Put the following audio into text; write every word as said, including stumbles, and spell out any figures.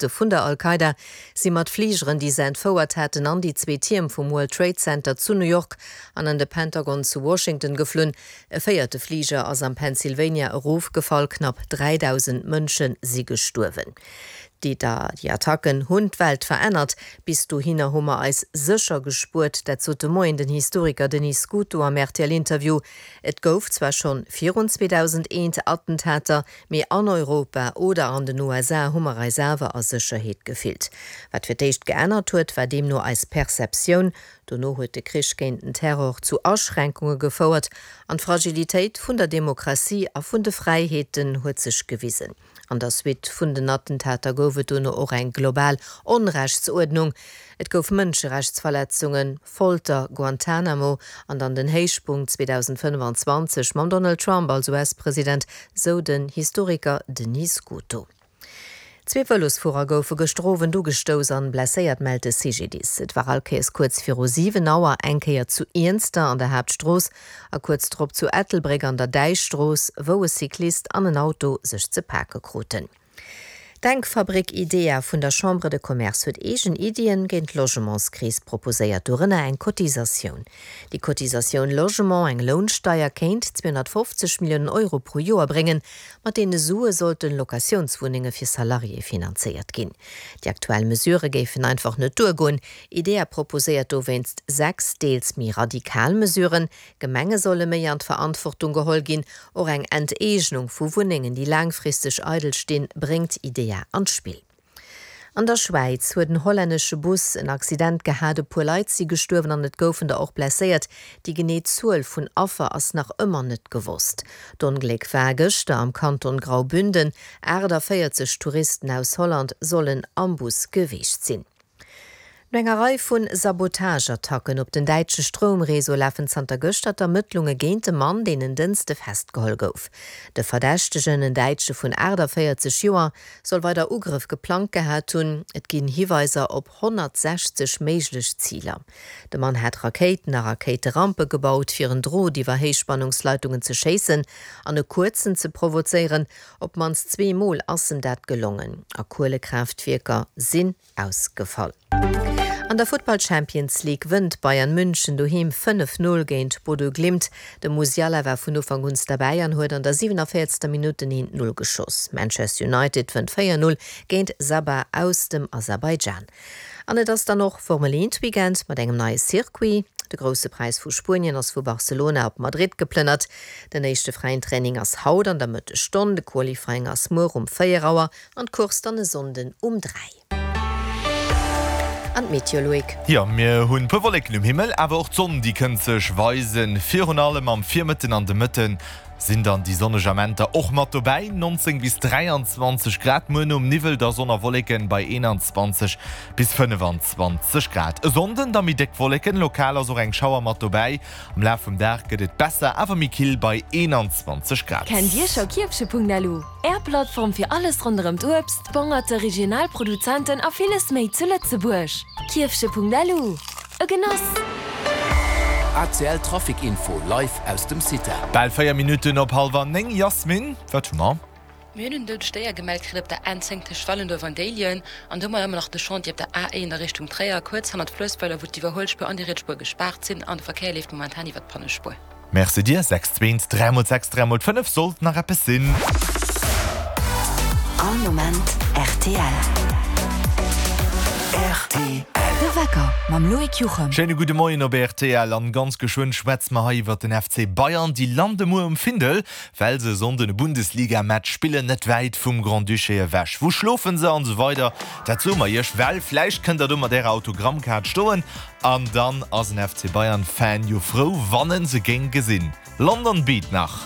vun der Al-Qaida si mat Fligeren, déi se entfouert haten, an déi zwee Tierm vum World Trade Center zu New York an an de Pentagon zu Washington geflunn. E véierte Fliger ass am Pennsylvania erofgefall, knapp dräidausend Mënsche si gestuerwen. Déi Attacken hunn d'Welt verännert. Bis dohinner hu mer eis sécher gespuert, dat sot de Moien den Historiker Denis Scuto am R T L-Interview. Et gouf zwar schonn virun zweedausendeent Attentater, mee an Europa oder an den U S A hu mer eis awer a Sécherheet gefillt. Wat fir d'éischt geännert huet, war deemno eis Perceptioun. Dono huet de Krich géint den Terror zu Aschränkunge gefouert an d'Fragilitéit vun der Demokratie a vun de Fräiheeten huet sech gewisen. An der Suite vun den Attentater gouf et dono och eng global Onrechtsuerdnung. Et gouf Mënscherechtsverletzungen, Folter, Guantanamo an dann den Héichpunkt zweedausendfënnefanzwanzeg mam Donald Trump als U S-President, sou den Historiker Denis Scuto. Zwee Vëlosfuerer goufe gëschter Owend ugestouss an blesséiert, mellt de C G D I S. Et war all Kéiers kuerz viru siwen Auer, eng Kéier zu Iernster an der Haaptstrooss a kuerz drop zu Ettelbréck an der Däichstrooss, wou e Cyclist an en Auto sech ze pake kruten. D'Denkfabrik IDEA vun der Chambre de Commerce huet eegen Iddien géint d'Logementskris proposéiert, dorënner eng Cotisatioun. Déi Cotisatioun Logement, eng Lounsteier, kéint zweehonnertfofzeg Milliounen Euro pro Joer bréngen. Mat deene Sue sollten Locatiounswunnenge fir Salariéë finanzéiert ginn. Déi aktuell Mesurë géifen einfach net duergoen. IDEA proposéiert dowéinst sechs deels méi radikal Mesuren. Gemenge solle méi an d'Verantwortung geholl ginn. Och eng Enteegnung vu Wunnengen, déi laangfristeg eidel stinn, bréngt IDEA an d'Spill. An der Schwäiz huet en hollännesche Bus en Accident gehat, e puer Leit si gestuerwen an et goufen der och blesséiert. Déi genee Zuel vun Affer ass nach ëmmer net gewosst. D'Ongléck war gëschter am Kanton Graubünden. achtundvéierzeg Touristen aus Holland sollen am Bus gewiescht sinn. No enger Rei vu Sabotageattacken op den däitsche Stroumreseau lafen zanter gëschter d'Ermëttlunge géint e Mann, deen en Dënschde festgeholl gouf. De Verdächtegen, en Däitsche vun achtundvéierzeg Joer, soll weider Ugrëff geplangt gehat hunn. Et ginn Hiweiser op honnertsechzeg méiglech Ziler. De Mann hat Rakéiten a Rakéiterampe gebaut, fir en Drot iwwer Héichspannungsleitungen ze schéissen an e Kuerzen ze provozéieren. Op d'mannst zwee Mol ass em dat gelongen. A Kuelekraaftwierker sinn ausgefall. An der Futtball Champions League wënnt Bayern München doheem fënnef Null géint Bodø Glimt. De Musiala war vun Ufank un derbäi an huet an der siewenundvéierzegster Minutt den eent Null geschoss. Manchester United wënnt véier Null géint Sabah aus dem Aserbaidschan. An et ass dann och Formel eent Weekend mat engem neie Circuit. De Grousse Präis vu Spuenien ass vu Barcelona op Madrid geplënnert. Den éischte fräien Training ass haut an der Mëttesstonn, de Qualifying ass muer um véier Auer an d'Course dann e Sonnden um dräi. An d'Meteo, Loïc. Jo, mir hunn puer Wolleken um Himmel, awer och d'Sonn déi kënnt sech weisen. Virun allem am Virmëtten an de Mëtten sinn dann déi sonneg Amenter och mat dobäi. neunzehn bis dräianzwanzeg Grad, muer nom Niwwel da Sonn a Wolleken bei eenanzwanzeg bis fënnefenzwanzeg Grad. E Sonnden da méi déck Wolleken, lokal ass och eng Schauer mat dobäi. Am Laf vum Dag gëtt et besser, awer méi kill bei eenanzwanzeg Grad. Kennt Dir scho Kierfche Punkt L U? Är Plattform fir alles ronderëm d'Uebst, Bongerte, regional Produzenten a villes méi zu Lëtzebuerg. Kierfche Punkt L U. E Genoss! A C L Trafic Info live aus dem Cita. Bal véier Minutten op hallwer néng. Jasmin, wat hu mer? Mir hunn en doudegt Déier gemellt kritt op der N zéng tëscht Wallendorf an Déiljen an do hu mer ëmmer nach de Chantier op der A eent a Richtung Tréier, kuerz hannert Fluessweiler, wou d'Iwwerhuelspuer an déi riets Spuer gespaart sinn an de Verkéier leeft momentan iwwer d'Pannespuer. Merci dir. sechs zwee dräi mol sechs dräi mol fënnef sollt nach eppes sinn. All Moment R T L. R T L. De Wecker mam Loïc Juchem. Schéine gudde Moien op R T L an ganz geschwënn schwätze mer hei iwwer den F C Bayern. Déi lande muer um Findel, well se Sonnden e Bundesliga-Match spillen, net wäit vum Grand-Duché ewech. Wou schlofen se an esou weider, dat soe mer iech, well vläicht kënnt der do mat ärer Autogrammkaart stoen an dann ass en F C Bayern-Fan jo frou, wann en se géing gesinn. London Beat nach.